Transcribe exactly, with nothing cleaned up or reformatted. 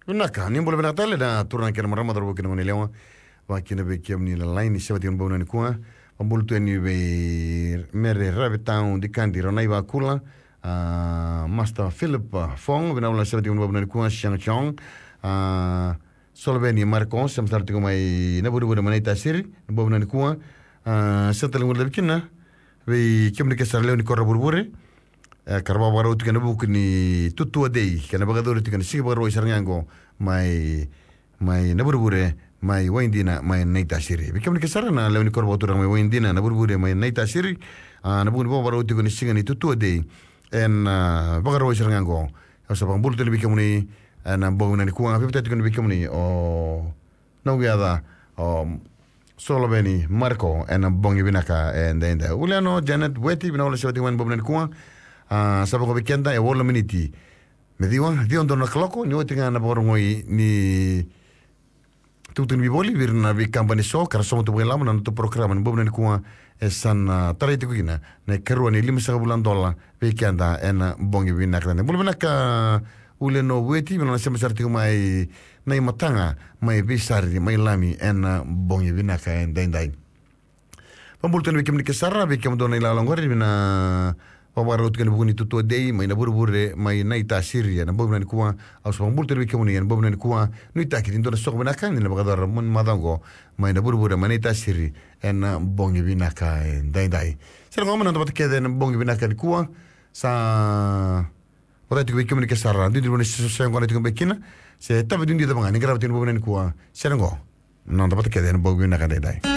Vinaka, ni bula vinaka tale na turaga kei na marama, cauravou kei na goneyalewa. Vakakina vei kemuni na laini, sa vata kei na bogi vinaka nikua. Vakabula tu yani vei Mere Ravetau Dikadi Ranai Vakula. A, Master Philip, a, Fong, vinaka vakalevu, sa vata kei na bogi vinaka nikua, Siang Chong. A, Soloveni Marco, sa mai sara tiko mai Navurevure mai Naitasiri, na bogi vinaka nikua. A, sa tale gole vei kina, vei kemuni kece sara lewe ni koro Vurevure. E, ka ra vakavakarau tiko ena vuku ni Tutua Day, ka na vakayacori tiko ena siga Vakarauwai sara ga qo, mai, mai Navurevure, mai Waidina, mai Naitasiri. Vei kemuni kece sara na lewe ni koro vakaturaga mai Waidina, Navurevure, mai Naitasiri, a, na vuku ni vakavakarau tiko ni siga ni Tutua Day, ena, a, Vakarauwai sara ga qo. Au sa vakabula tu yani vei kemuni, ena bogi vinaka nikua, veivatani tiko yani vei kemuni, o, na uyaca, o, Soloveni Marco, ena bogi vinaka edaidai. Uliano Janet Weti, vinaka vakalevu, sa vata kei na bogi vinaka nikua. A, sa vaka vei keda, e walu na miniti me ciwa, ciwa donu na kaloko, ni oti ga na vakarogoi ni tukutuku ni vivoli, vei ira na veikabani eso, ka ra sauma tu vakailavo na noda porokaramu, ena bogi vinaka nikua, e sa na tarai tiko kina, na ikarua ni limasagavulu na dola, vei keda ena bogi vinaka edaidai. Bula vinaka, Uliano Weti, vinaka na sema sara tiko mai na iMataga, mai Veisari, mai Lami, ena bogi vinaka edaidai. Vakabula tu yani vei kemuni kece sara, vei kemudou na ilakolako qori, vei na vakavakarau tiko ena vuku ni Tutua Day, mai Navurevure, mai Naitasiri, ena bogi vinaka nikua, au sa vakabula tu yani vei kemuni, ena bogi vinaka nikua, nuitaki ni dua na soqo vinaka, ni na vakayacora mai na macawa qo, mai Navurevure, mai Naitasiri, ena bogi vinaka edaidai. Sere qo, mai na noda vata kece ena bogi vinaka nikua, sa vakataki tiko vei kemuni kece sara, duidui ni vanua se, se qo na tiko beka kina, se tavi duidui cava ga, ni qarava tiko ena bogi vinaka nikua, sere qo, na noda vata kece ena bogi vinaka edaidai.